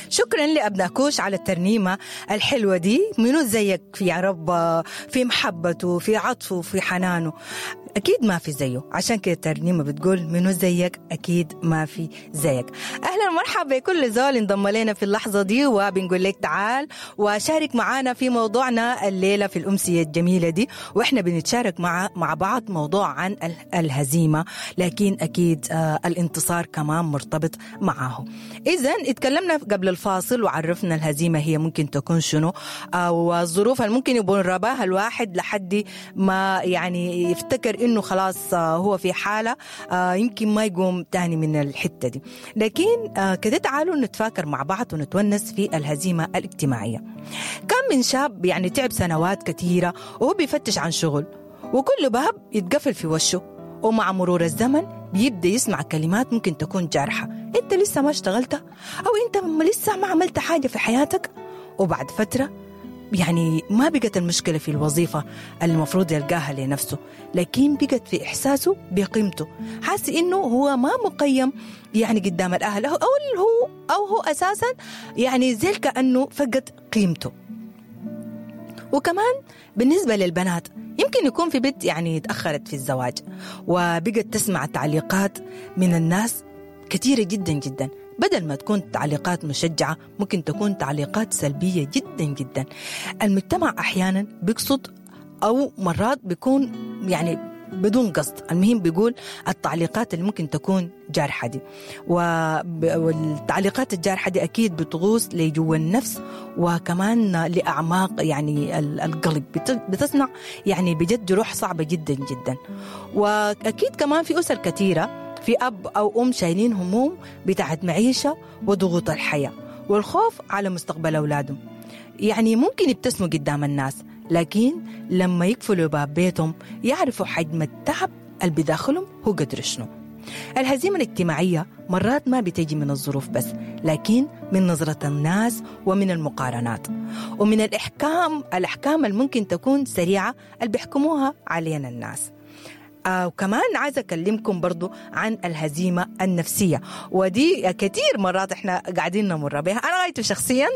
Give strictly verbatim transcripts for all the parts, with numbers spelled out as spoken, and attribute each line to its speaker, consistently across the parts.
Speaker 1: شكرا لأبناء كوش على الترنيمة الحلوة دي. منو زيك يا رب في محبته، في عطفه، في حنانه؟ أكيد ما في زيه. عشان كده الترنيمة بتقول منو زيك، أكيد ما في زيك. أهلا ومرحبا بكل زول انضم لنا في اللحظة دي، وبنقول لك تعال وشارك معانا في موضوعنا الليلة في الأمسية الجميلة دي، وإحنا بنتشارك مع مع بعض موضوع عن الهزيمة، لكن أكيد آه الانتصار كمان مرتبط معاه. إذن اتكلمنا قبل الفاصل وعرفنا الهزيمة هي ممكن تكون شنو، آه والظروف اللي ممكن يبون رباها الواحد لحد ما يعني يفتكر إنه خلاص هو في حالة يمكن ما يقوم تاني من الحتة دي. لكن كده تعالوا نتفاكر مع بعض ونتونس في الهزيمة الاجتماعية. كان من شاب يعني تعب سنوات كثيرة وهو بيفتش عن شغل، وكل باب يتقفل في وشه، ومع مرور الزمن بيبدأ يسمع كلمات ممكن تكون جارحة: أنت لسه ما اشتغلت، أو أنت لسه ما عملت حاجة في حياتك. وبعد فترة يعني ما بقت المشكلة في الوظيفة اللي المفروض يلقاها لنفسه، لكن بقت في إحساسه بقيمته، حاسس إنه هو ما مقيم يعني قدام الأهل، أو هو أو هو أساسا يعني زي كأنه فقد قيمته. وكمان بالنسبة للبنات يمكن يكون في بنت يعني تأخرت في الزواج وبقت تسمع تعليقات من الناس كثيرة جدا جدا، بدل ما تكون تعليقات مشجعة ممكن تكون تعليقات سلبية جدا جدا. المجتمع أحيانا بيقصد أو مرات بيكون يعني بدون قصد، المهم بيقول التعليقات اللي ممكن تكون جارحة دي، والتعليقات الجارحة دي أكيد بتغوص لجوا النفس وكمان لأعماق يعني القلب، بتصنع يعني بجد جروح صعبة جدا جدا. وأكيد كمان في أسر كثيرة في أب أو أم شايلين هموم بتاعت معيشة وضغوط الحياة والخوف على مستقبل أولادهم. يعني ممكن يبتسموا قدام الناس، لكن لما يقفلوا باب بيتهم يعرفوا حجم التعب اللي بداخلهم هو قدر شنو. الهزيمة الاجتماعية مرات ما بتجي من الظروف بس، لكن من نظرة الناس ومن المقارنات ومن الإحكام، الأحكام اللي ممكن تكون سريعة اللي بيحكموها علينا الناس. آه وكمان عايزة أكلمكم برضو عن الهزيمة النفسية، ودي كتير مرات احنا قاعدين نمر بها. أنا غايته شخصيا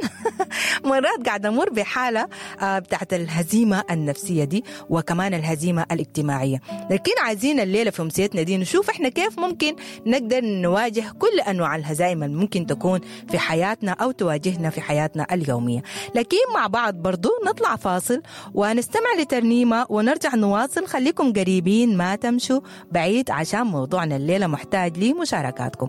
Speaker 1: مرات قاعدة أمر بحالة آه بتاعت الهزيمة النفسية دي، وكمان الهزيمة الاجتماعية. لكن عايزين الليلة في أمسيتنا دي نشوف احنا كيف ممكن نقدر نواجه كل أنواع الهزائم اللي ممكن تكون في حياتنا أو تواجهنا في حياتنا اليومية. لكن مع بعض برضو نطلع فاصل ونستمع لترنيمة ونرجع نواصل. خليكم قريبين ما تمشوا بعيد عشان موضوعنا الليلة محتاج لمشاركاتكم.